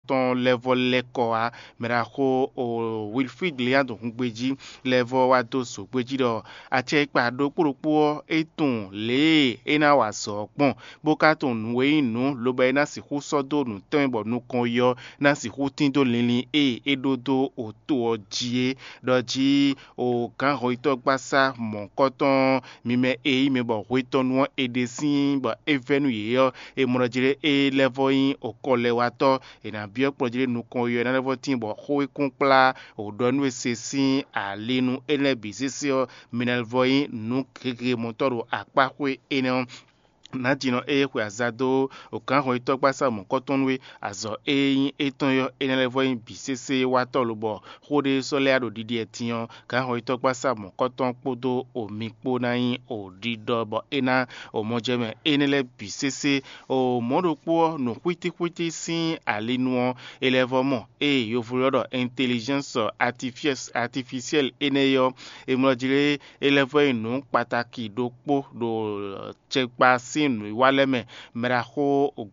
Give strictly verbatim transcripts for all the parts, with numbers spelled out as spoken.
tɔn lɛ́ vɔ lɛ́ kɔ wá. Mɛɖaxó o Wilfrid Leandro hungbejí lɛ́ vɔ wá dó zǒgbéjí ɖɔ acɛkpa ɖokpó ɖokpó ɔ́, é tunwun lě e é ná wa azɔ̌ ɔ́ kpɔ́n, bó ka tunwun nǔ e nyí nǔ, lobo é ná sixú sɔ́ dó nǔ tɛnmɛ bɔ nukɔn yi ɔ́ ná sixú tín dó linlin e é ɖó dó oto ɔ́ jí é. Ɖɔ jí o gǎnhɔnyitɔ́gbasá mɔ̌hunkɔtɔn ɔ́, mi mɛ e nyí mɛ bɔ hwetɔ́nu ɔ́ è ɖe sín bɔ é vɛ́ nú yě ɔ́, è mɔ ɖɔ jí ɖé é lɛ́ vɔ nyí okɔlɛwatɔ́. È nǎ byɔ́ kplɔ́n jí ɖé nukɔn yi ɔ́, é ná lɛ́ vɔ tíin bɔ xó e kún kplá wǒ ɖɔ nú we se sín ali nú énɛ́ lɛ́ɛ bǐ sésé ɔ́, mi ná lɛ́ vɔ nyí nǔ gěgé mɔtɔ́ ɖo akpáxwé énɛ́ ɔ́. Nǎjínɔ e xwe aza dó gǎnhɔnyitɔ́gbasá mɔ̌kɔ́tɔn nú we, azɔ̌ e nyí étɔn ɔ́, é ná lɛ́ vɔ nyí bǐ sésé watɔ́ lobɔ xó ɖé sɔ́ lɛ́ ɖo ɖiɖi ɛtin ɔ́, gǎnhɔnyitɔ́gbasá mɔ̌kɔ́tɔn kpódó omi kpó ná nyí o ɖiɖɔ bɔ é ná o mɔjɛmɛ énɛ́ lɛ́ɛ bǐ sésé. O mɔ̌ ɖokpó ɔ́, nǔ xwítíxwítí sín ali nu ɔ́, è lɛ́ vɔ mɔ ée yovo ylɔ́ ɖɔ intelligence artificielle énɛ́ é ɔ́, è mlɔ jí lé é lɛ́ vɔ nyí nǔ kpatáki ɖokpó ɖo cɛkpa sín nǔwiwa lɛ́ɛ mɛ. Mɛɖaxó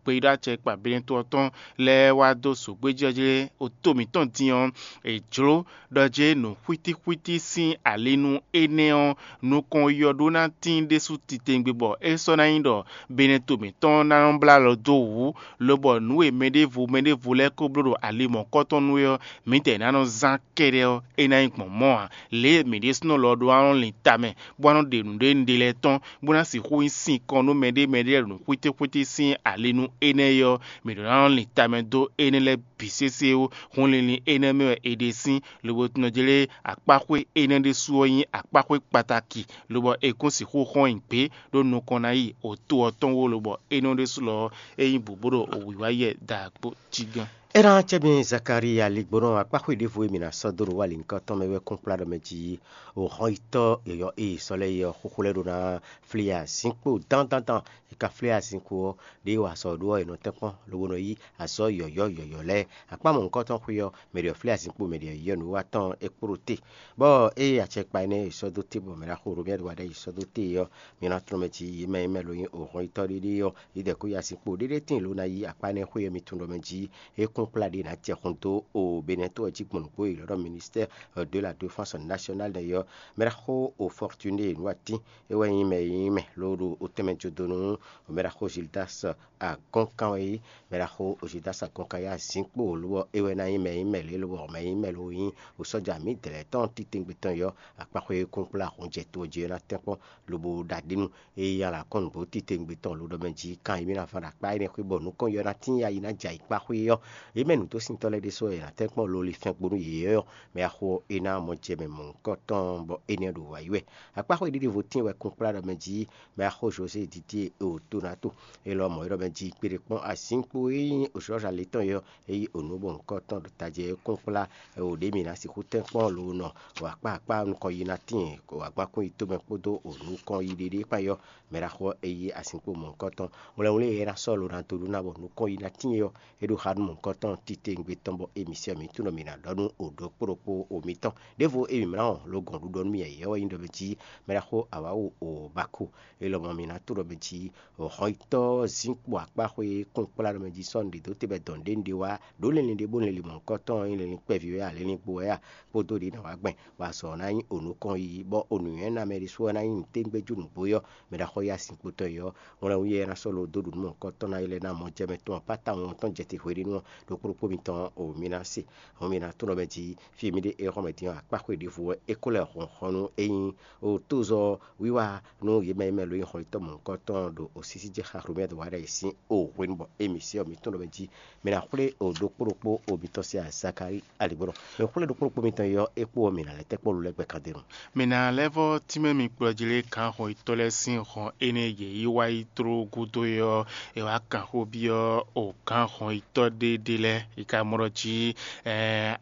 gbeyíɖɔ acɛkpa Benɛto ɔ́ tɔn lɛ́ɛ wá dó zǒgbéjɔ́jlé to mǐtɔn din ɔ́, è jlǒ ɖɔ jé nǔ xwítíxwítí sín ali nú énɛ́ ɔ́, nukɔn yi ɔ́ ɖó ná tíin ɖésú titewungbe bɔ é sɔ́ ná nyí ɖɔ Benɛto mǐtɔn ná nɔ́ blá alɔ dó wǔ, lobɔ nǔ e mɛɖěvo mɛɖěvo lɛ́ɛ ko bló ɖo ali mɔ̌kɔtɔn nú é ɔ́, mǐdɛɛ ná nɔ zán kɛ́ɖɛ́ ɔ́, é ná nyí gbɔn mɔ̌ ǎ. Lě e mǐ ɖésúnɔ lɔ ɖó ná nɔ lin tamɛ, bó ná nɔ ɖe nǔɖé ɖe lɛ́ɛ tɔn, bó ná sixú nyí sinkɔn nú mɛɖé mɛɖé lɛ́ɛ ɖo nǔ xwítíxwítí sín ali nú énɛ́ é ɔ́, mǐ ɖó ná nɔ lin tamɛ dó énɛ́ lɛ́ɛ bǐ sésé ó. Hun linlin énɛ́ mɛ wɛ è ɖe sín, lobo tunɔ jlé akpáxwé énɛ́ ɖésú ɔ́ nyí akpáxwé kpataki, lobɔ è kún sixú xɔ́n nyi gbě ɖó nukɔn ná yi oto ɔ́ tɔn wó, lobɔ énɛ́ ɖésú lɔ ɔ́, é nyí bǔ bó ɖo wǐwá yɛ da kpó cí gán. É ná acɛ mi Zakalía ligbónɔ akpáxwé ɖěvo e mǐ ná sɔ́ dó ɖo wá lǐnkɔ́ tɔn mɛ wɛ kún kplá ɖɔ mɛ jí o hɔnyitɔ́ yɔ̌yɔ́ e è sɔ́ lɛ́ é ɔ́, xóxó lɛ́ɛ ɖó ná flí azinkpo dándándán. È ka flí azinkpo ɔ́, ɖěe wa azɔ̌ ɖó ɔ́, è nɔ tɛ́nkpɔ́n lobo nɔ yí azɔ̌ yɔ̌yɔ́ yɔ̌yɔ́ lɛ́ɛ. Akpá mɔ̌hunkɔtɔn xwé ɔ́, mɛ ɖě ɔ́ flí azinkpo mɛ ɖě ɔ́ yi ɔ́ nǔwiwa tɔn é kpló te. Bɔ ée acɛkpa énɛ́ e è sɔ́ dó te bɔ mɛ ɖaxó Romɛ́ɛ wa ɖ'ayǐ sɔ́ dó te é ɔ́, mi ná tlɔ́n mɛ jí yě mɛ e mɛ lo nyí ohɔnyitɔ́ ɖéɖé ɔ́, yě dɛ kó yi azinkpo ɖéɖé tíin lǒ ná yí akpá énɛ́ xwé ɔ́ mi tunwun ɖɔ mɛ jí é kún kplá ɖě ná jɛ xun dó o Benɛto ɔ́ jí gbɔn nǔgbó e è ylɔ́ ɖɔ ministère de la défense nationale nɛ́ ɔ́. Mɛ ɖaxó o Fortuné Nǔwatín é wɛ nyí mɛ e nyí mɛ ló ɖo otɛn mɛ jó dó nú mɛ ɖaxó Gildas Agɔnkan wɛ nyí. Mɛ ɖaxó Gildas Agɔnkan yá zinkpo lobɔ é wɛ ná nyí mɛ e nyí mɛ lě lobɔ mɛ e nyí mɛ ló nyí o sɔ́ja mǐdɛɛ lɛ́ɛ tɔn titewungbe tɔn yɔ́ akpáxwé kún kplá hun jɛ to jí ɔ́ ná tɛ́nkpɔ́n lobo ɖo aɖǐnu. Eye alǎkɔ́nǔgbó titewungbe tɔn lǒ ɖɔ mɛ jí kan e mì ná fán ɖo akpá énɛ́ xwé bɔ nukɔn yɔ́ ná tín ya yi ná jɛ ayǐkpá xwé ɔ́, yě mɛ nǔdósintɔ́ lɛ́ɛ ɖésú wɛ è nǎ tɛ́nkpɔ́n lolifɛn gbo nú yě ɔ́, mɛ axo é ná mɔ jɛ mɛ mɔ̌hunkɔtɔn bɔ énɛ́ ɖo wǎ yi wɛ. Akpá xwé ɖiɖe vo tíin wɛ kún kplá ɖɔ mɛ jí mɛ axo José Didie e o to ná to. Élɔ́ mɔ̌ é ɖɔ mɛ jí kpeɖé kpɔ́n azǐnkpo e nyí Jɔ́ɔ́za le tɔn é ɔ́, é yí onǔ bɔ nǔkɔntɔn ɖo tajɛ é kún kplá o ɖě mǐ ná sixú tɛ́nkpɔ́n lo nɔ o akpá akpá nukɔn yi ná tíin o agbákún yi tomɛ kpódó o nukɔn yi ɖéɖé kpán yɔ́. Mɛ ɖaxó ɔ́, é yí azinkpo mɔ̌hunkɔtɔn. Wlɛnwlɛ́n e é ná sɔ́ lo ná dó ɖó ná bɔ nukɔn yi ná tíin é ɔ́, é ɖo xá nú mɔ̌hunkɔtɔn titewungbe tɔn bɔ émisiɔn mǐtúnɔ mǐ ná ɖɔ nú o ɖokpó ɖokpó o mitɔn. Ɖěvo e mǐ mlá wɔn lo gɔn ɖuɖɔ nú mì yɛ̌yɛ́ wɛ nyí ɖɔ mɛ jí mɛ ɖaxó awǎwu o Bako. É lɔmɔ̌ mǐ ná to ɖɔ mɛ jí hɔnyitɔ́ zínkpo akpáxwé kún kplá ɖɔ mɛ jí sɔ́ nǔɖé dó te bɔ dɔn ɖě un ɖe wá ɖǒ linlin ɖé bó linlin mɔ̌hunkɔtɔn ɔ́ nyí linlin kpɛví wɛ a, linlin gbo wɛ a, kpódó ɖě ná wá gbɛn, bɔ azɔ̌ ɔ́ ná nyí o nukɔn yiyi, bɔ o nǔnywɛ́ ná mɛ ɖésú ɔ́ ná nyí nǔtɛ́ngbɛ́jú nǔgbó yɔ́, mɛ ɖaxó yá sin kpotɔn yɔ́. Wlɛ́n wú yɛ ná sɔ́ lo dó ɖu nú mɔ̌hunkɔtɔn ná yi lɛ́ ná mɔ jɛ mɛ tɔn pátá wɔn tɔn jɛ te hweɖénu ɔ́, ɖokpó ɖokpó mitɔn o mi ná se, hɔn mi ná tlɔ́n mɛ jí fí e mì ɖe é xɔ́ mɛ din ɔ́, akpáxwé ɖěvo wɛ é ko lɛ́ hɔn hɔn nú é nyí o tózɔ́ wiwa nú yě mɛ e mɛ lo nyí xɔlitɔ́ mɔ̌hunkɔtɔn ɖo osísí jɛ xaxlomɛ dó wa ɖ'ayǐ sín o hwenu bɔ émi se ɔ́, mi tɔn ɖɔ mɛ jí mɛ ná xwlé o ɖokpó ɖokpó o mitɔn sín azakárí aligbɔnɔ. Mɛ xwlé ɖokpó ɖokpó mitɔn yɔ é kpó ɔ́, mǐ ná lɛ́ tɛ́ kpɔ́ lɛ́ gbɛ kan ɖe nu. Mǐ ná lɛ́ vɔ́ tínmɛ mi kplɔ́ jí lé gǎn hɔnyitɔ́ lɛ́ɛ sín hɔn énɛ́ yě yi wá yi tló gúdo é ɔ́, è wǎ kan xó byɔ́ o gǎn hɔnyitɔ́ ɖé ɖé lɛ́ɛ, è ka mɔ ɖɔ jí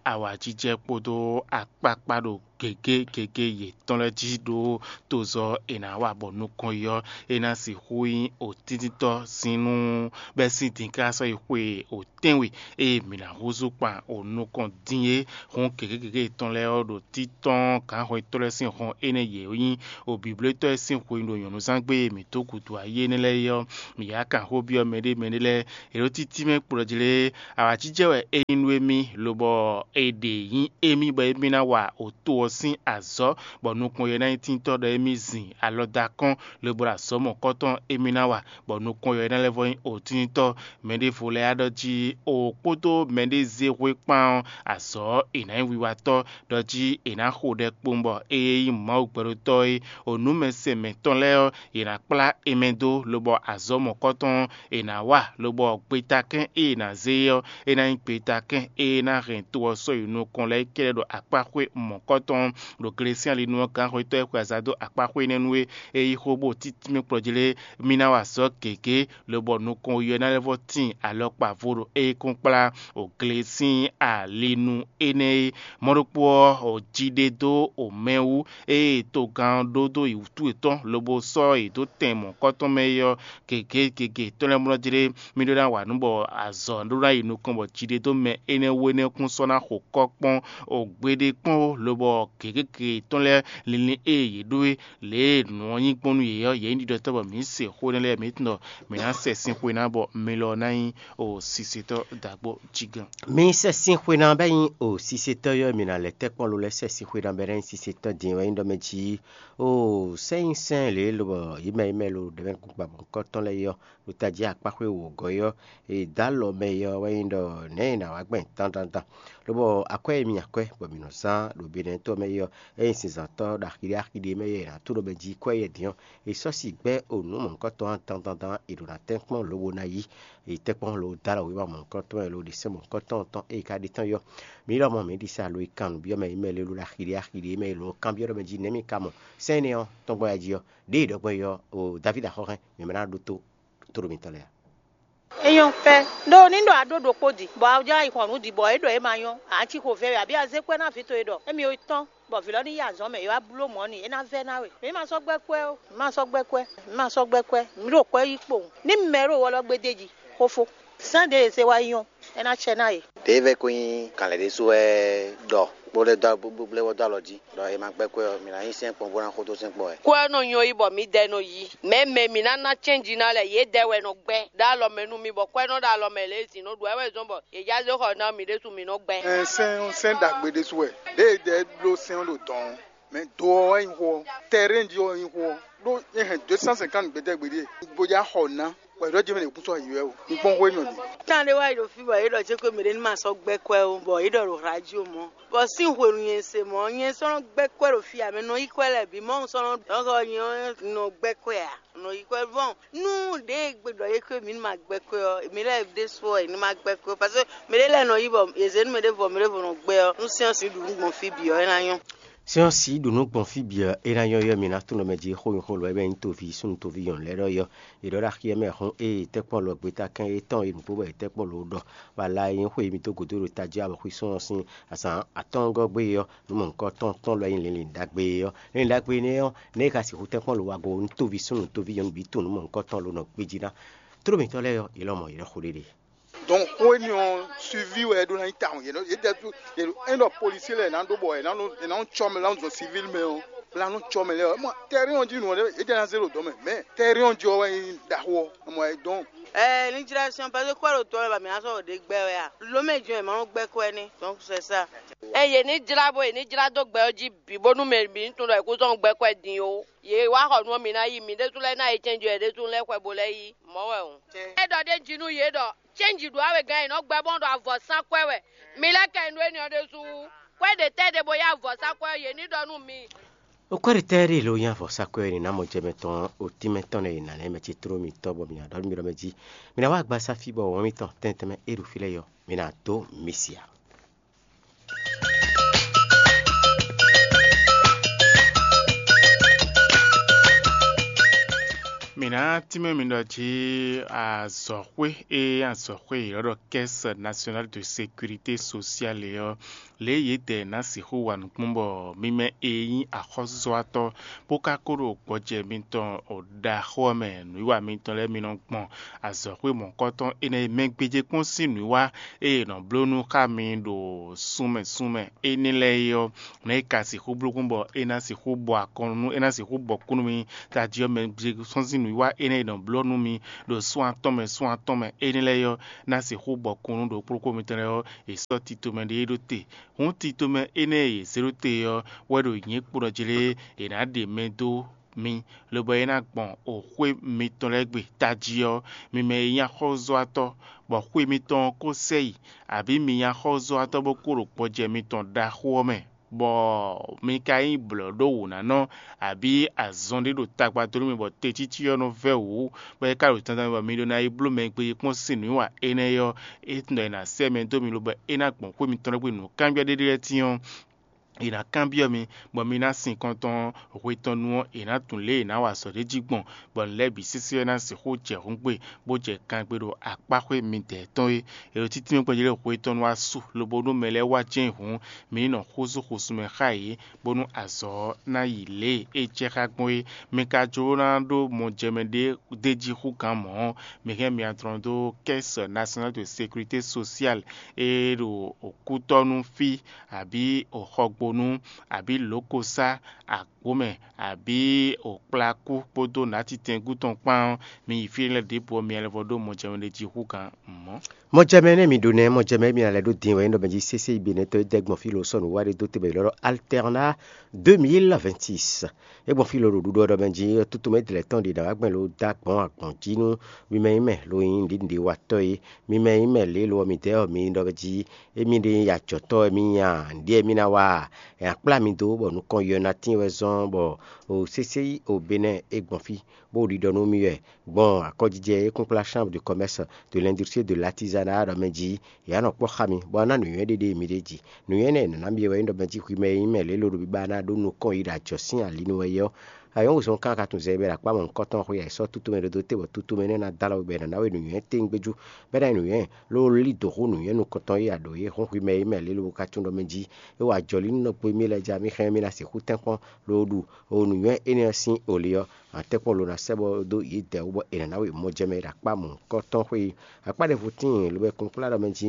awǎjijɛ kpódó akpákpá ɖo gěgé gěgé yětɔn lɛ́ɛ jí ɖó tozɔ́ è nǎ wa bɔ nukɔn yi ɔ́, é ná sixú nyí òtíntítɔ́ sín nú bɛ́ sín din ká sɔ́ yi xwe òtɛ́nwe e mǐ ná húzú kpan ò nukɔn dín é. Hǔn gěgé gěgé yětɔn lɛ́ɛ ɔ́ ɖo títɔ́n gǎnhwɛntɔ́ lɛ́ɛ sín hɔn énɛ́ yě nyí òbǐblótɔ́ e sín hwenu ɖo nyɔ̌nuzángbe e mǐ dó gǔdo ayé énɛ́ lɛ́ɛ é ɔ́, mǐ yá kan xó byɔ́ mɛɖé mɛɖé lɛ́ɛ. È ɖo títí mɛ kplɔ́ jí lé, awǎjijɛ wɛ é nyí nú émí, lobɔ è ɖě nyí émí bɔ émí ná wa òto ɔ́ sín azɔ̌, bɔ nukɔn yɛ ná nyí tíntɔ́ ɖɔ émí zin alɔ dó akɔ́n, lobo ɖo azɔ̌ mɔ̌kɔtɔn émí ná wa, bɔ nukɔn yɛ ná lɛ́ vɔ nyí òtíntɔ́. Mɛ ɖěvo lɛ́ɛ ɖɔ jí o kpódó mɛ ɖé zé hwe kpán ɔ́, azɔ̌ è nǎ nyí wiwatɔ́, ɖɔ jí è nǎ xo ɖɛ kpowun bɔ ée nyí Mawu gbɛɖotɔ́ é, o nǔ mɛ se mɛ̌tɔn lɛ́ɛ ɔ́, yě ná kplá e mɛ dó, lobɔ azɔ̌ mɔ̌kɔtɔn è nǎ wa, lobɔ gbetakɛ́n e è nǎ zé é ɔ́, é ná nyí gbetakɛ́n e ná hɛn to ɔ́ sɔ́ yi nukɔn lɛ́ɛ kɛ́ɖɛ́ ɖo akpáxwé mɔ̌kɔtɔn ɖo Glesían linu ɔ́ gǎnxwetɔ́ e xwe aza dó akpáxwé énɛ́ nu é. É yí xó bó títí mì kplɔ́ jí lé, mì ná wa azɔ̌ gěgé, lobɔ nukɔn wiwi ɔ́ ná lɛ́ vɔ́ tíin alɔkpa vo ɖo é kɔn kplá o Glesían linu énɛ́ é. Mɔ̌ ɖokpó ɔ́, o jí ɖé dó o mɛ wú, ée togán ɔ́ ɖó dó yi wútu yětɔn, lobo sɔ́ yě dó tɛn mɔ̌kɔtɔn mɛ é ɔ́, gěgé gěgé tɔn lɛ́ɛ mlɔ́ jí ɖé. Mì ɖó ná wa nǔ bɔ azɔ̌ ɖó ná yi nukɔn bɔ jí ɖé dó mɛ énɛ́ wú énɛ́ kún sɔ́ ná xo kɔ́ kpɔ́n o gbeɖé kpɔ́n ó, lobɔ gěgé gěgé tɔn lɛ́ɛ linlin e yě ɖó é, lě e nǔ ɔ́ nyí gbɔn nú yě ɔ́, yě nyí ɖiɖɔtɔ́ bɔ mǐ se xó énɛ́ lɛ́ɛ mǐtɔn ɖɔ mǐ ná sɛ sín xwe ná bɔ mi lɔ ná nyí o sisetɔ́ dǎgbó jígán. Mi sɛ sín xwe ná bɛ nyí o sisetɔ́ yɔ, mi ná lɛ tɛ́ kpɔ́n lo lɛ́ sɛ sín xwe ná bɛ ná nyí sisetɔ́ din wɛ nyí ɖɔ mɛ jí o sɛ́ nyí sɛ́n lě lobɔ yí mɛ yí mɛ lo ɖɛ̌mɛ kúkpa bɔ nukɔntɔn lɛ́ɛ yɔ ɖo tají akpáxwé wǒgɔ́ yɔ e dó alɔ mɛ yɔ wɛ nyí ɖɔ nɛ̌ è nǎ wá gbɛn dandandan. Lobɔ akwɛ́ e mi akwɛ́ bɔ mǐ nɔ zán ɖo Benɛ́tɔ́ mɛ yɔ, é nyí zinzǎntɔ́ ɖo axi ɖé axi ɖé mɛ yɔ è nǎ tó ɖo mɛ jí kwɛ́ yɛ din ɔ́, è sɔ́ si gbɛ́ o nǔ mɔ̌hunkɔtɔn ɔ́ dandandan è ɖǒ ná tɛ́nkpɔ́n lobo ná yí. È tɛ́nkpɔ́n lo dó alɔ wěma mɔ̌hunkɔtɔn e lo ɖe sɛ́n mɔ̌hunkɔtɔn tɔn e è ka ɖe tɔn yɔ. Mǐ lɔmɔ̌ mǐ ɖi sa lo e kan nǔ byɔ́ mɛ e mɛ lelu ɖo axi ɖé axi ɖé mɛ e lo kanbyɔ́ ɖɔ mɛ jí nɛ̌ mi ka mɔ sɛ́n énɛ́ ɔ́ tɔn gbɔn yɛ jí ɔ́, ɖěe ɖɔ gbɔn yɔ o Davídi axɔ́hɛn mǐ mɛ ná ɖótó tóɖo mitɔn lɛ́ɛ ǎ. É nyɔ́ pɛ́. Ɖó ní ɖɔ a ɖó ɖokpó di, bɔ a jlá yi xɔ nǔ di, bɔ é ɖɔ é ma nyɔ́, a cí xo vɛ́ wɛ, abǐ a zé kwɛ́ ná vǐ towe ɖɔ émí yi tɔ́n, bɔ vǐ lɔ ní yi azɔ̌ mɛ, é wá bló mɔ̌ n'i, é ná vɛ́ ná we. Mǐ ma sɔ́ gbɛ́ kwɛ́ ó, mǐ ma sɔ́ gbɛ́ kwɛ́, mǐ ma sɔ́ gbɛ́ kwɛ́, mǐ ɖo kwɛ́ yí kpowun. Ní mɛ ɖo wɔ lɔ gbédé jí, xófó. Sɛ́n ɖě e zé wá yi nyɔ́, é ná cɛ ná yě. Ɖěe vɛ́ ko nyí kanlɛ ɖésú wɛ ɖɔ bó lɛ́ dó bó lɛ́ wɔ dó alɔ jí, ɖɔ è ma gbɛ́ kwɛ́ ɔ́, mǐ ná nyí sɛ́nkpɔ́n bó ná xódó sɛ́nkpɔ́n wɛ. Kwɛ́ ɔ́ nɔ nyɔ́ yí bɔ mǐdɛɛ nɔ yí. Mɛ̌ mɛ mǐ ná ná cɛ́nji ná lɛ́ɛ, yědɛɛ wɛ nɔ gbɛ́ ɖó alɔ mɛ nú mì, bɔ kwɛ́ nɔ ɖo alɔ mɛ lě e zǐn nɔ ɖu wɛ wɛ zɔ́n bɔ yě já zé xɔ ná mǐ ɖésú mǐ nɔ gbɛ́. Ɛn, sɛ́n ɔ́, sɛ́n ɖagbe ɖésú wɛ. Ɖěe è dɛ bló sɛ́n ɔ́ ɖo dɔn ɔ́, mɛ do ɔ́ wɛ nyí xó ɔ́, tɛrɛ́n jí ɔ́ wɛ nyí xó ɔ́, ɖó é hɛn deux cent cinquante gbɛtɛ́ gbeɖé, bo já xɔ ná, bɔ è ɖɔ jɛ́n mɛ ɖě kún sɔ́ ayǐ wɛ o. Un kpɔ́n xó énɛ́ ɔ́ din. Tán ɖé wá yi ɖo fí bɔ yě ɖɔ cé xwé mɛɖé ní ma sɔ́ gbɛ́ kwɛ́ ó, bɔ yě ɖɔ ɖo radio mɔ̌. Bɔ sín hwenu nyɛ se mɔ̌, nyɛ sɔ́ nɔ gbɛ́ kwɛ́ ɖo fí ǎ, mɛ nɔ yí kwɛ́ lɛ́ɛ bǐ mɔ̌ sɔ́ nɔ dɔn xɔ nyɛ ɔ́ nɔ gbɛ́ kwɛ́ ǎ. Nɔ yí kwɛ́ vɔn. Nú ɖě e gbe ɖɔ yě xwé mǐ ní ma gbɛ́ kwɛ́ ɔ́, mǐ lɛ́ɛ ɖésú ɔ́, è ní ma gbɛ́ kwɛ́ ó. Parce que mɛɖé lɛ́ɛ nɔ yí bɔ yě zě nú mɛɖé vɔ, mɛɖé vɔ nɔ gbɛ́ ɔ́, nú sɛ́n ɔ́ sixú ɖu nǔ gbɔn fí bǐ ɔ́, é ná nyɔ́. Sɛ́n ɔ́ sixú ɖu nǔ gbɔn fí bǐ ɔ́, é ná nyɔ́ yɔ mǐ ná tunwun mɛ jí xó nyí xó lɔ é bɛ́ nyí toví súnnu toví nyɔ̌nu lɛ́ɛ ɖɔ yɔ. È ɖɔ ɖo axi ɔ́ mɛ hɔn ée tɛ́kpɔ́n lɔ gbeta kɛn étɔn e nǔgbó bɔ è tɛ́kpɔ́n lɔ ɖɔ bɔ ala e nyí xwe e mì dó gǔdo ɖo tají abɔxwísún ɔ́ sín azǎn atɔ́ɔ́ngɔ́ gbé é ɔ́, nǔ mɔ̌hunkɔtɔn tɔn lɔ nyí linlin ɖagbe é ɔ́. Linlin ɖagbe énɛ́ ɔ́, nɛ̌ è ka sixú tɛ́nkpɔ́n lo wa go nú toví súnnu toví nyɔ̌nu bǐ tunwun nǔ mɔ̌hunkɔtɔn lo nɔ gbéjí ná. Tlóló mǐtɔn lɛ́ɛ ɔ́, yě lɔmɔ̌ yě nɔ xo ɖéɖé. Donc xó énɛ́ ɔ́ suivi wɛ é ɖó ná nyí tawun. Yě nɔ yě ɖɛ ɖó yě ɖo é ɖɔ policier lɛ́ɛ ná ɖó bɔ è nǎ nɔ è nǎ nɔ cɔ mɛ, è nǎ nɔ zɔn civil mɛ ɔ́, bla nɔ cɔ mɛ lɛ́ɛ ɔ́. Mɔ terrain ɔ́ jí nǔ ɔ́ ɖé é jɛ ná zé ɖo dɔ̌ mɛ, mais terrain ɔ́ jí ɔ́ wɛ nyí ɖaxó ɔ́. Mɔ ɛ donc. Ɛ ní jlá sɔn parce que kɔ́ ɖo tɔ wɛ ba mǐ ná sɔ́ ɖo ɖě gbɛ wɛ a? Lǒ mɛ jɔn è ma nɔ gbɛ kɔ́ ɛ ní, donc c'est ça. Ɛ yě ní jlá bó yě ní jlá dó gbɛ ɔ́ jí bǐ bónú mɛ bǐ ní tunwun ɖɔ è kú zɔ́n gbɛ kɔ́ ɛ din ó. Yě wá xɔ nú ɔ́, mi ná yi, mi ɖésú lɛ́ɛ ná yi cɛnjú yě ɖésú lɛ́ɛ xwɛ bó lɛ́ yi. Mɔ̌ wɛ hǔn. É ɖɔ ɖ'é jí nú yě ɖɔ cɛ́nji ɖu awegán e nɔ gbɛ́ bɔ́n ɖo avɔ̌sán kwɛ́ wɛ. Mi lɛ́ kɛ nú énɛ́ ɔ́ ɖésú. Kwɛ́ ɖě tɛ́ ɖě bó yá avɔ̌sán kwɛ́ ɔ́, yě ní ɖɔ nú mi. Okwɛ́ ɖě tɛ́ ɖé lo nyí avɔ̌sán kwɛ́ ɔ́, è nǐ ná mɔ jɛ mɛ tɔn otín mɛ tɔn lɛ́ɛ, è nǎ lɛ́ mɛ ce tló mitɔn bɔ mǐ ná ɖɔ nú mi ɖɔ mɛ jí. Mi ná wá gba sáfí bɔ wǎn mitɔn tɛntɛn mɛ é ɖo fí lɛ́ɛ yɔ, mi ná dó mi sia. Mǐ ná tínmɛ mi ɖɔ jí azɔ̌xwé e azɔ̌xwé yě ɖɔ Caisse Nationale de Sécurité Sociale é ɔ́, lě e yědɛɛ ná sixú wa nǔ gbɔn bɔ mi mɛ e nyí axɔ́súzɔ́watɔ́ bó ka ko ɖo gbɔjɛ mitɔn ɖaxó ɔ́ mɛ nǔwiwa mitɔn lɛ́ɛ mi nɔ gbɔn azɔ̌xwé mɔ̌hunkɔtɔn énɛ́ e mɛ gbéjé kpɔ́n sín nǔwiwa e è nɔ bló nú xá mi ɖo súnmɛ súnmɛ énɛ́ lɛ́ɛ é ɔ́, nɛ̌ è ka sixú bló gbɔn bɔ é ná sixú bɔ akɔn nú é ná sixú bɔ kú nú mi tají ɔ́ mɛ sɔ́n sín nǔwiwa énɛ́ e è nɔ bló nú mi ɖo sún atɔn mɛ sún atɔn mɛ énɛ́ lɛ́ɛ ɔ́, ná sixú bɔ kún nú ɖokpóɖokpó mitɔn lɛ́ɛ ɔ́, è sɔ́ tito mɛ ɖé ɖó te. Hǔn tito mɛ énɛ́ e yě zé ɖó te ɔ́ wɛ ɖo nyǐ kpo ɖɔ jlé è nǎ ɖe mɛ dó mi, lobɔ é ná gbɔn oxwé mitɔn lɛ́ɛ gbe tají ɔ́, mi mɛ e nyí axɔ́zɔ́watɔ́, bɔ xwe mitɔn ɔ́ kó sɛ yi, abǐ mi nyí axɔ́zɔ́watɔ́ bó kó ɖo gbɔjɛ mitɔn ɖaxó ɔ́ mɛ, bɔ mi ka nyí blɔ̌ɖówǔnánɔ, abǐ azɔn ɖé ɖo tagba dó nú mi bɔ tecící ɔ́ nɔ vɛ́ wǔ, bɔ é ka ɖo dandan mɛ bɔ mi ɖó ná yi bló mɛ e gbéjé kpɔ́n sín nǔwiwa énɛ́ ɔ́, é tunwun ɖɔ è nǎ sɛ́ mɛ dó mi, lobɔ é ná gbɔn xwé mitɔn lɛ́ɛ gbe nǔkanbyɔ́ ɖé ɖé lɛ́ɛ tíin ɔ́, è nǎ kanbyɔ́ mi, bɔ mi ná sin kɔntɔn hwe tɔn nu ɔ́, è nǎ tunwun lě e è nǎ wa azɔ̌ ɖé jí gbɔn, bɔ nǔ lɛ́ɛ bǐ sésé ɔ́ ná sixú jɛ hǔngbe, bó jɛ kangbe ɖo akpáxwé midɛɛ tɔn é. È ɖo títí mɛ gbɔjɛ́ lɛ́ɛ hwe tɔn nu wá su, lobo nú mɛ lɛ́ɛ wá jɛ́n hǔn, mi ní nɔ xúzú xúsú mɛ xá yě, bónú azɔ̌ ɔ́ ná yi lě e é jɛ xá gbɔn é. Mi ka jló ná ɖó mɔjɛmɛ ɖé d'é jí hú gǎn mɔ̌ ɔ́, mi hɛn myɔ adlɔn dó Caisse Nationale de Sécurité Sociale e ɖo Kútɔ́nú fí, abǐ Xɔgbónú, abǐ Lǒkosá, Agbǒmɛ, abǐ Kplakú kpódó Nǎtitɛngú tɔn kpán ɔ́, mi yi fí lɛ́ɛ ɖěbǔ ɔ́, mi lɛ́ vɔ ɖó mɔjɛmɛ ɖé jí hú gǎn mɔ̌. Mɔjɛmɛ nɛ́ mi ɖó nɛ́, mɔjɛmɛ mi ná lɛ́ ɖó din wɛ nyí ɖɔ mɛ jí sésé yi Benɛ́tɔ́ e dɛ́ gbɔn fí lo sɔ́ nǔ wa ɖé dó te bɔ è ylɔ́ ɖɔ Alternat deux mille vingt-six. É gbɔn fí lo ɖo ɖuɖu ɔ́ ɖɔ mɛ jí, tutú mɛ dlɛ̌ tɔn ɖě ná wá gbɛn lo dó agbɔ̌n agbɔ̌n jí nú mi mɛ nyí mɛ lo nyí nǔɖiɖiwatɔ́ é. Mi mɛ nyí mɛ lě lo ɔ́, midɛɛ ɔ́, mi ɖɔ jí émí ɖe nyí ajɔ̌tɔ́ wɛ mì nyí a? Nǔɖé wɛ mì ná wa a? È nǎ kplá mi dó bɔ nukɔn yɔ ná tíin wɛ zɔ́n bɔ o sésé yi o Benɛ́ é gbɔn fí, bó ɖiɖɔ nú mì wɛ gbɔn akɔjijɛ e kúnkplá Chambre de Commerce, de l'Industrie, de l'Artisanat ɖɔ mɛ jí, yě á nɔ kpɔ́ xá mi, bɔ ná nǔnywɛ́ ɖé ɖe mi ɖ'é jí. Nǔnywɛ́ énɛ́ è nǎ ná mi wɛ nyí ɖɔ mɛ jí hwi mɛ e nyí mɛ lě lo ɖo biba ná ɖó nukɔn yi ɖo ajɔ̌ sín ali nu wɛ é ɔ́, ayɔ́ wezɔn kan ka tunwun zɛ bɛ ɖo akpá mɔ̌hunkɔtɔn xwé ya è sɔ́ tutu mɛ ɖo dó te bɔ tutu mɛ énɛ́ ná dó alɔ we bɔ è nǎ ná we nǔnywɛ́ tɛ́ngbéjú, bɔ é ná nyí nǔnywɛ́ ló lí dǒ hú nǔnywɛ́ nukɔntɔn e a ɖǒ é hɔn hwi mɛ e mɛ lě lo ka tunwun ɖɔ mɛ jí, é wa jɔlí nú nɔ gbo émí lɛ́ɛ jí, mì xá mì ná sixú tɛ́nkpɔ́n lo ɖu o nǔnywɛ́ énɛ́ ɔ́ sín oli ɔ́, atɛ́kpɔ́n lo ná sɛ́ bɔ dó yědɛɛ wú bɔ è nǎ ná we mɔjɛmɛ ɖo akpá mɔ̌hunkɔtɔn xwé yi. Akpá ɖěvo tíin lobo kúnkplá ɖɔ mɛ jí,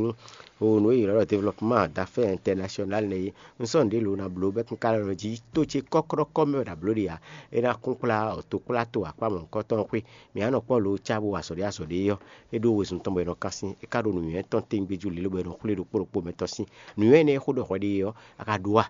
o nǔ e yě ylɔ́ ɖɔ développement d'affaires international nɛ́ é, un sɔ́ nǔɖé lo ná bló bɔ é kún ka ɖɔ jí tó ce kɔ́klɔ́kɔ́ mɛ wɛ ɖo bló ɖe ǎ. É ná kúnkplá tokpláto akpá mɔ̌hunkɔtɔn xwé. Mǐ á nɔ kpɔ́ lo cá bó wa azɔ̌ ɖé azɔ̌ ɖé ɔ́, é ɖó wezun tɔn bɔ è nɔ kán sín, é ka ɖo nǔnywɛ́ tɔn tɛ́ngbéjú lílo bɔ è nɔ xwlé ɖokpó ɖokpó mɛtɔn sín. Nǔnywɛ́ énɛ́ e xó ɖɔ hwɛ ɖe é ɔ́, a ka ɖu a?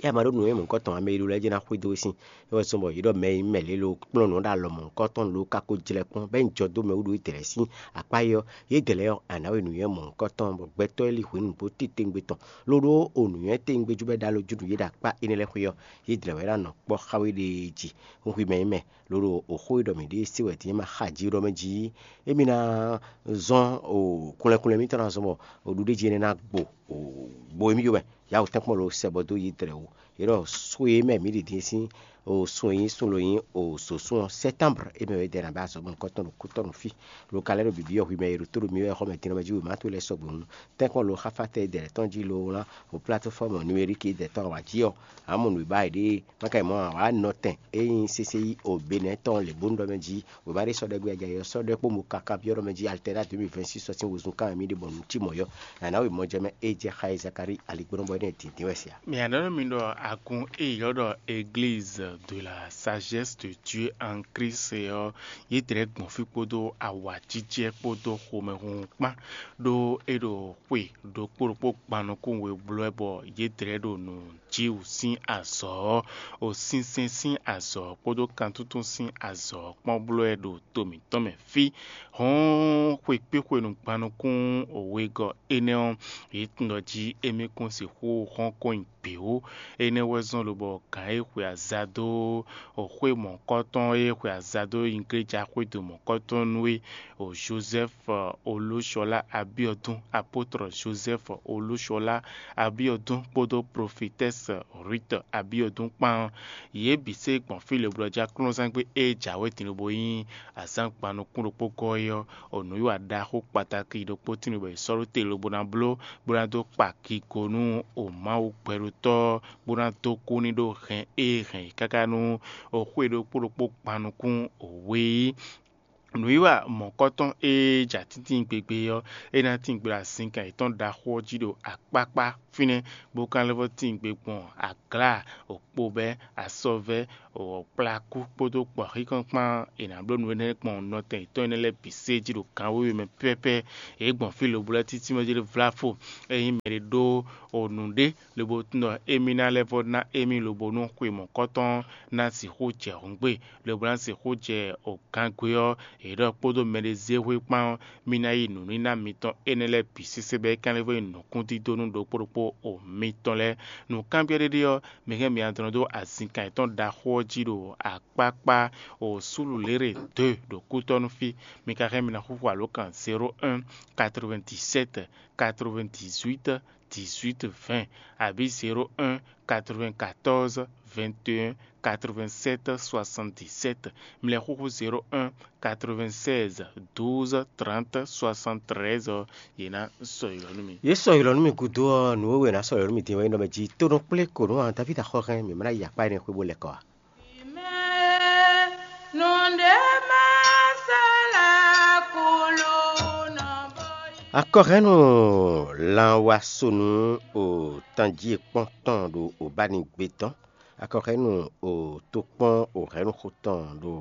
É a ma ɖó nǔnywɛ́ mɔ̌hunkɔtɔn ǎ, mɛ e ɖó lɛ́ɛ jɛ́n ná xwedó we sín. É wɛ zɔ́n bɔ yě ɖɔ mɛ e nyí mɛ lě lo kplɔ́n nǔ ɖo alɔ mɔ̌hunkɔtɔn lo ka ko jlɛ́ kpɔ́n, bɔ é nyí jɔ dó mɛ wú ɖo étɛ́ lɛ́ɛ sín akpá é ɔ́, yědɛɛ lɛ́ɛ ɔ́, a nǎ we nǔnywɛ́ mɔ̌hunkɔtɔn bɔ gbɛtɔ́ e lí hwenu bó titewungbe tɔn, ló ɖó o nǔnywɛ́ tewungbe jú bɔ é ɖo alɔ jú nú yě ɖo akpá énɛ́ lɛ́ɛ xwé ɔ́, yědɛɛ lɛ́ɛ wɛ ná nɔ kpɔ́ xá we ɖe jí. Hú hwi mɛ nyí mɛ, ló ɖo oxó e ɖɔ mǐ ɖe se wɛ din é ma xa jí ɖɔ mɛ jí, émí ná zɔ́n o kunlɛkunlɛ mǐtɔn ná zɔ́n bɔ o ɖuɖéjí énɛ́ ná gbo o gbo émí yó mɛ. Yǎ wǒ tɛ́nkpɔ́n lo sɛ bɔ dó yě dlɛ̌ wú. Yě ɖɔ sun e mɛ mǐ ɖi din sín o sun e nyí sun lo nyí o sǒsún ɔ́, sɛ́tánbr é mɛ wɛ dɛ ná bɛ azɔ̌ mɔ̌hunkɔtɔn ɖo kútɔ́ nú fí. Lo ka lɛ́ ɖo bǐbí ɔ́ hwi mɛ e ɖo tó ɖo mì wɛ xɔmɛ din ɔ́ mɛ jí wěma towe lɛ́ɛ sɔgbe hǔn, tɛ́nkpɔ́n lo xáfátɛ́ e dɛ tɔn jí lo wlán o plateforme numérique e dɛ tɔn wǎ jí ɔ́, ǎ mɔ nǔ e ba è ɖe é. Má ka yi mɔ ǎ wǎ nɔ tɛn é nyí sésé yí o Benɛ́ tɔn lě bónú ɖɔ mɛ jí wěma ɖé sɔ́ ɖɔ gbé ajayi ɔ́ sɔ́ ɖɔ kpó mo kaka byɔ́ ɖɔ mɛ jí Alternat deux mille vingt-six ɔ́ sín wezun kan wɛ mì ɖe bɔ nǔ cí mɔ̌ yɔ́. Nǎ ná wě mɔ jɛ mɛ é jɛ xa e Zakalíi aligbɔnɔ bɔ énɛ́ dǐndín wɛ se ǎ. Mǐ ná nɔ mì ɖɔ agun e ylɔ́ ɖɔ Église de la Sagesse de Dieu en Christ ɔ́, yě dlɛ̌ gbɔn fí kpódó awǎjijɛ kpódó xomɛhunhun kpán, ɖó é ɖo xwe ɖokpó ɖokpó gban nukún we bló wɛ bɔ yě dlɛ̌ ɖo nǔ Jiwu sín azɔ̌ ɔ́, o sinsɛn sín azɔ̌ kpódó kantúntún sín azɔ̌ kpɔ́n bló wɛ ɖo to mǐtɔn mɛ fí. Hɔ̌n xwe kpé xwenu gban nukún wegɔ́ énɛ́ ɔ́, yě tunwun ɖɔ jí émí kún sixú hɔ́n kɔn nyi bǐ wú. Énɛ́ wɛ zɔ́n lobɔ gǎn e xwe aza dó xwé mɔ̌kɔtɔn e xwe aza dó igléja xwédo mɔ̌kɔtɔn nú é, o Joseph Olúṣọlá Abíɔdún, apôtre Joseph Olúṣọlá Abíɔdún kpódó prophétesse Ruth Abíɔdún kpán. Yě bǐ se gbɔn fí lěblɔ́ jí aklúnɔzán gbé e jǎwe din lobo nyí azǎn gban nukún ɖokpó gɔ́ é ɔ́, o nǔwiwa ɖaxó kpataki ɖokpó tín bɔ è sɔ́ ɖó te lobo ná bló bó ná dó kpa kigo nú o Mawu gbɛɖótɔ́ bó ná dó kú ní ɖó hɛn e hɛn yě káká nú o xwé ɖokpó ɖokpó gban nukún o we é. Nǔwiwa mɔ̌kɔtɔn e ja tíntín gbegbe ɔ́, é ná tín gbe ɖo azinkan yětɔn ɖaxó ɔ́ jí ɖo akpákpá fínɛ́, bó ka lɛ́ vɔ́ tín gbe gbɔn aglǎ, okpobɛ́, asɔvɛ́, kplakú kpódó kpɔ̌xíkan kpán. È nǎ bló nǔ énɛ́ gbɔn nɔtɛn yětɔn énɛ́ lɛ́ɛ bǐ sé jí ɖo kanwéwe mɛ pɛ́pɛ́. Yě gbɔn fí lobo lɛ́ títí mɛ jí ɖé vláfo. Ényí mɛɖé ɖó nǔɖé lobo tunwun ɖɔ émí ná lɛ́ vɔ́ ná émí lobo nú xwe mɔ̌kɔtɔn ná sixú jɛ hǔngbe, lobo ná sixú jɛ o gangwe ɔ́, yě ɖɔ kpódó mɛɖé zé hwe kpán ɔ́, mì ná yi nǔníná mitɔn énɛ́ lɛ́ɛ bǐ sésé bɔ é ka lɛ́ vɔ́ nyí nǔkúndídó nú ɖokpó ɖokpó o mitɔn lɛ́ɛ. Nǔkanbyɔ́ ɖé ɖé ɔ́, mi hɛn mi adɔn dó azinkan yětɔn ɖaxó ɔ́ jí ɖo akpákpá o súlulěɖe dó ɖo kútɔ́ nú fí. Mi ka hɛn mi ná xúxú alǒkan zéro un, quatre-vingt-dix-sept, quatre-vingt-dix-huit, dix-huit, vingt, abǐ zéro un, quatre-vingt-quatorze, vingt et un, quatre-vingt-sept, soixante-dix-sept. Mi lɛ́ xúxú zéro un, quatre-vingt-seize, douze, trente, soixante-treize ɔ́, yě ná sɔ́ yi lɔ nú mi. Yě sɔ́ yi lɔ nú mi gúdo ɔ́, nǔ e wɛ è nǎ sɔ́ yi lɔ nú mi din wɛ nyí ɖɔ mɛ jí tónú kplé ko nǔ a Davída xɔ hɛn mǐ ma ná yi akpá énɛ́ xwé bó lɛ́ kɔ a? Akɔhɛ́nnu lanwasonu o tanjí e kpɔ́n tɔn ɖo Obánigbé tɔn. Akɔhɛ́nnu o tokpɔn o hɛ̌nnu xo tɔn ɖo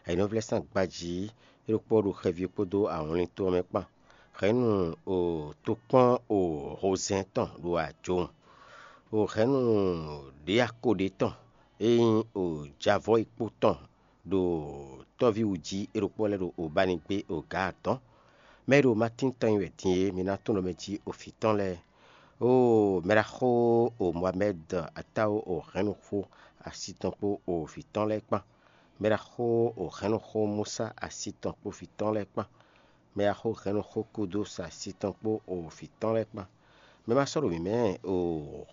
ɛ̌nɔvlɛ́sán gbají é ɖokpó ɖo xɛví kpódó awlin tɔn mɛ kpán. Hɛ̌nnu o tokpɔn o hozɛ́n tɔn ɖo ajowun. O hɛ̌nnu ɖěako ɖé tɔn e nyí o javɔ́ e kpo tɔn ɖo tɔ́ví wú jí é ɖokpó lɛ́ɛ ɖo Obánigbé o gǎ atɔ́ɔ́n. Mɛ e ɖo Matín tɔn nyi wɛ din é, mi ná tunwun ɖɔ mɛ jí o vǐ tɔn lɛ́ɛ. Oo, mɛ ɖaxó o Moamɛ́d atáwo o hɛ̌nnu xó asi tɔn kpó o vǐ tɔn lɛ́ɛ kpán. Mɛ ɖaxó o hɛ̌nnu xó Musa asi tɔn kpó vǐ tɔn lɛ́ɛ kpán. Mɛ e xo hɛ̌nnu xó kúdó sa asi tɔn kpó o vǐ tɔn lɛ́ɛ kpán. Mɛ ma sɔ́ ɖo mǐ mɛ o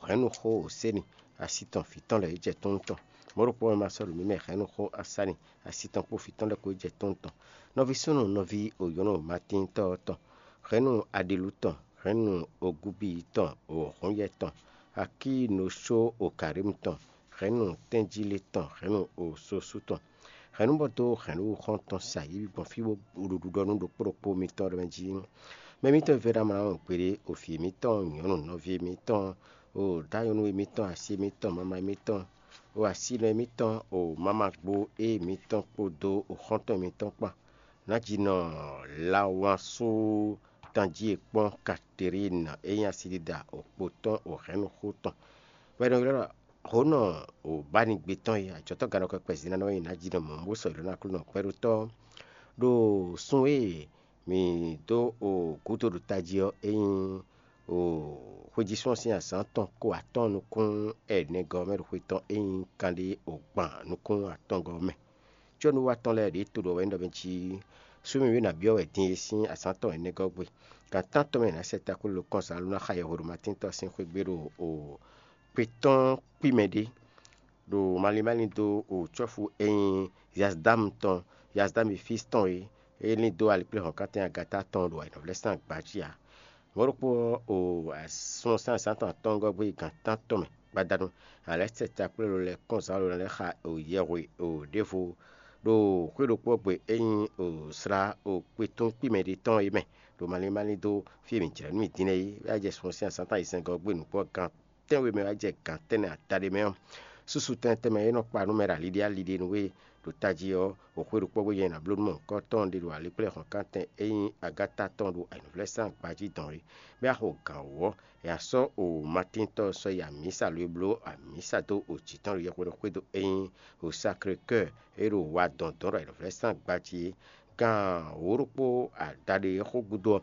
hɛ̌nnu xó o séni asi tɔn vǐ tɔn lɛ́ɛ yi jɛ tɔ́n tɔn. Mɔ̌ ɖokpó mɛ ma sɔ́ ɖo mǐ mɛ hɛ̌nnu xó asáni asi tɔn kpó vǐ tɔn lɛ́ɛ kpó yi jɛ tɔ́n tɔn. Nɔví súnnu nɔví o nyɔ̌nu Matíntɔ́ tɔn, hɛ̌nnu Aɖilú tɔn, hɛ̌nnu Ogúbíyí tɔn, o Hǔnyɛ tɔn, Akínosó o Karímu tɔn, hɛ̌nnu Tɛ́njílé tɔn, hɛ̌nnu o Sosú tɔn. Hɛ̌nnu bɔ dó hɛ̌nnu xɔ́ntɔn sa yě gbɔn fí bó ɖo ɖiɖɔ nú ɖokpó ɖokpó mitɔn ɖɔ mɛ jí: Mɛ mitɔn e vɛ́ ná mlá wɔn gbeɖé, o vǐ mitɔn nyɔ̌nu nɔví mitɔn, o dǎ nyɔ̌nu e mitɔn asi mitɔn mama mitɔn, o asinɔ e mitɔn, o mama gbo e mitɔn kpódó o xɔ́ntɔn mitɔn kpán. Nǎjínɔ Lawansú tanjí e kpɔ́n Katerín e nyí asidida o kpo tɔn o hɛ̌nnu xó tɔn. Wɛ nɔ ylɔ́ Hǒnɔ o bánigbe tɔn e ajɔ̌tɔ́gannɔkɔ kpɛzínánɔ e nǎ ji nɔ mɔ̌ bó sɔ́ yi ɖó ná Aklúnɔ kpɛ́ɖótɔ́ ɖo sun e mǐ dó o gǔdo ɖo tají ɔ́, é nyí o xwejísɔ́ sín azǎn tɔn ko atɔ́ɔ́n nukún ɛnɛgɔ́ mɛ ɖo xwe tɔn e nyí kanɖé o gban nukún atɔngɔ́ mɛ. Có nú wa tɔn lɛ́ɛ ɖě to ɖɔ wɛ nyí ɖɔ mɛ jí súnnu e nǎ byɔ́ wɛ din e sín azǎn tɔn ɛnɛgɔ́ gbe. Gan tántɔn mɛ è nǎ sɛ takwélo kɔn zǎn ló ná xa yɛhweɖomatíntɔ́ sín xwé gbe ɖo o kpé tɔn kpí mɛ ɖé ɖo malín malín dó o cɔ́fu e nyí Yazdámu tɔn, Yazdámu fí tɔn e é lín dó alikpléhɔ̌nkántɛn Agatá tɔn ɖo ayǐnɔvlɛ́sán gbǎ jí ǎ. Mɔ̌ ɖokpó ɔ́, o asúnɔ sín azǎn tɔn atɔ́ɔ́ngɔ́ gbé yi gan tántɔn mɛ gbadanu, a lɛ́ sɛ takwélo lɛ́ɛ kɔn zǎn ló ná lɛ́ xa o yɛhwe o ɖěvo ɖo xwé ɖokpó gbe e nyí o slá o kpetún kpí mɛ ɖé tɔn é mɛ ɖo malín malín dó fí e mǐ jlɛ̌ nú mì din lɛ́ɛ é, bó wá jɛ súnnu sín azǎn tɔn ayizɛ́ngɔ́ gbe nǔgbó gan tɛ́nwe mɛ wá jɛ gan tɛ́nnɛ adaɖé mɛ ɔ́, súsu tɛnmɛ tɛnmɛ e nɔ kpa nú mɛ ɖo aliɖé aliɖé nú we ɖo tají ɔ́, o xwé ɖokpó gbe nyɛ nǎ bló nú mɔ̌hunkɔtɔn ɖé ɖo alikplɛ́hɔ̌nkántɛn e nyí Agatá tɔn ɖo ayǐnɔvlɛ́sán gbǎjí dɔn é, bɔ é wá xo gǎn wú ɔ́, è nǎ sɔ́ o Matíntɔ́ ɔ́ sɔ́ yi amǐsa lo e bló amǐsa dó o jǐ tɔn ɖo yɛhweɖɔ xwédo e nyí o Saklekɔ́ɔ é ɖo wa dɔn dɔn ɖo ayǐnɔvlɛ́sán gbǎjí é. Gan wǒ ɖokpó adaɖé xó gúdo ɔ́,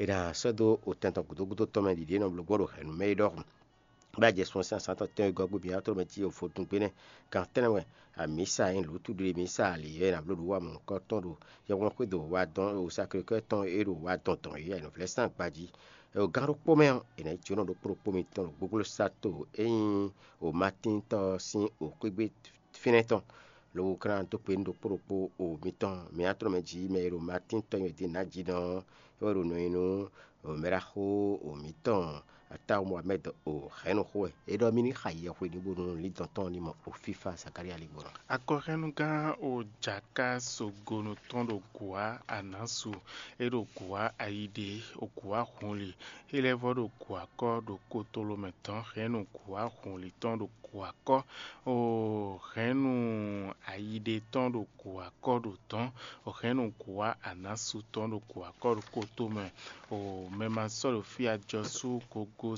è nǎ sɔ́ dó o tɛn tɔn gǔdo gúdo tɔn mɛ ɖiɖi e nɔ bló gbɔn ɖo hɛ̌nnu mɛ é ɖɔhun. Bɔ é jɛ sun ɔ́ sín azǎn tɔn tɛ́nwe gɔ́ gbe mǐ ɔ́ tlóló mɛ cí fodún gbe nɛ́. Gan tɛ́nnɛ wɛ, amǐsa e nyí lǔtúɖiɖe mǐsa ali e è nǎ bló ɖo wú amɔ̌kɔ tɔn ɖo yɛhwɛ́nxwé dó wá dɔn ɖo saklekɛ́ tɔn e ɖo wá dɔn dɔn é nǔvlɛ́sán gbají. È ɖo gán ɖokpó mɛ ɔ́, è nǎ yi jǒnɔ ɖokpó ɖokpó mitɔn ɖo gbógbósato e nyí Matíntɔ́ ɔ́ sín xwégbé fínɛ́ tɔn, lobo ka ná dó gbe nú ɖokpó ɖokpó mitɔn. Mǐ ná tlɔ́n mɛ jí mɛ e ɖo Matín tɔn nyi wɛ din nǎ jí nɔ ɔ́, é wɛ ɖo nɔ nyi nú mɛɖaxó mǐtɔn Atáwu Mohamɛ́d o hɛ̌nnu xó wɛ. É ɖɔ mì ní xa yɛhwe ní bónú lǐndɔ̌n tɔn ní mɔ o fífá Zakalía lǐngbɔ́ ná. Akɔhɛ́nnugán o Jaká Sogonu tɔn ɖo Gǔwá Anǎsu, é ɖo Gǔwá Ayiɖe, o Gǔwá Hunli, é lɛ́ vɔ́ ɖo Gǔwákɔ́ ɖo kotolo mɛ tɔn hɛ̌nnu Gǔwá Hunli tɔn ɖo Gǔwákɔ́, o hɛ̌nnu Ayiɖe tɔn ɖo Gǔwákɔ́ ɖo dɔ̌n, o hɛ̌nnu Gǔwá Anǎsu tɔn ɖo Gǔwákɔ́ ɖo koto mɛ, o mɛ ma sɔ́ ɖo fí ajɔsú gogo